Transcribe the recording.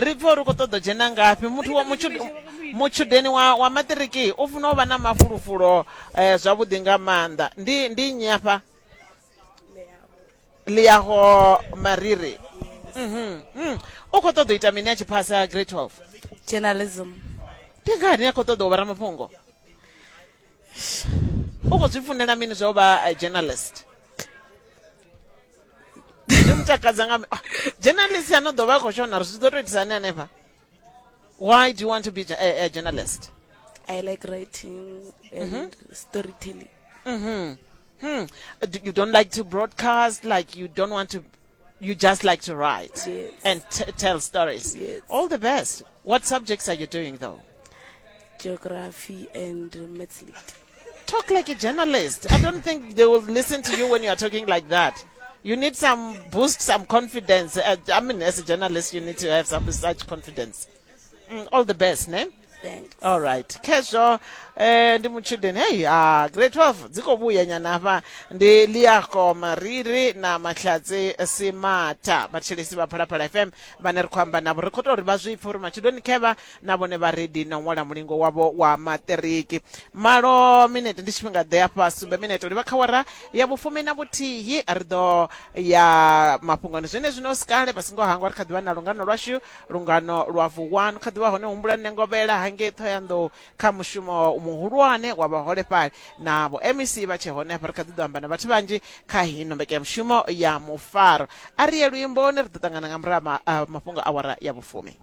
Ri pfe uri u khou ṱoḓa u dzhena ngafhi. Muthu wa mutshudeni wa wa maṱiriki u funa u vha na mafulufulu eh, zwavhuḓi nga maanḓa. Ndi ndi nnyi afha? Liaho Mariri. Mhm. Mm. U khou ṱoḓa u ita mini a tshi phasa grade 12? Journalism. Ndi ngani a khou ṱoḓa u vha ramafhungo? U khou zwi funela mini zwa u vha eh, journalist? Zwi mu takadza nga ah, journalist ano ḓo vha a khou shona ri zwi ḓo tou itisa hani hanefha? Why do you want to be a, a journalist? I like writing and mm -hmm. storytelling. Mm -hmm. Hmm. You don't like to broadcast, like you don't want to, you just like to write yes. and tell stories. Yes. All the best. What subjects are you doing though? Geography and maths lit. Talk like a journalist. I don't think they will listen to you when you are talking like that. You need some boost, some confidence. Uh, I mean, as a journalist, you need to have some such confidence. Mm, all the best, ne? Thanks. All right. Khezwo eh ndi mutshudeni hey ah grade 12 dzi khou vhuya nyana hafha ndi Liako Mariri na Mahlatsi Simatha vhathetshelesi vha Phalaphala FM vhane ri khou amba navho ri khou tou uri vha zwi pfe uri matshudeni khevha na vhone vha redi na u ṅwala mulingo wavho wa maṱiriki malo minete ndi tshifhinga ḓe afha sumbe minete u livha kha wara ya vhufumi na vhuthihi ri ḓo ya mafhungoni zwenezwino sikale vha songo hangwa ri kha ḓivha na lungano lwashu Lungano lwa Vuwani kha ḓivha hone humbulani Nengovhela hangei Ṱhohoyanḓou kha mushumo muhulwane wa vhaholefhali na vho MEC vha tshe hone hafha ri kha ḓi ḓo amba na vhathu vhanzhi kha hino mbekanyamushumo ya mufaro. A ri ye luimboni ri ḓo ṱangana nga murahu ha mafhungo awara ya vhufumi.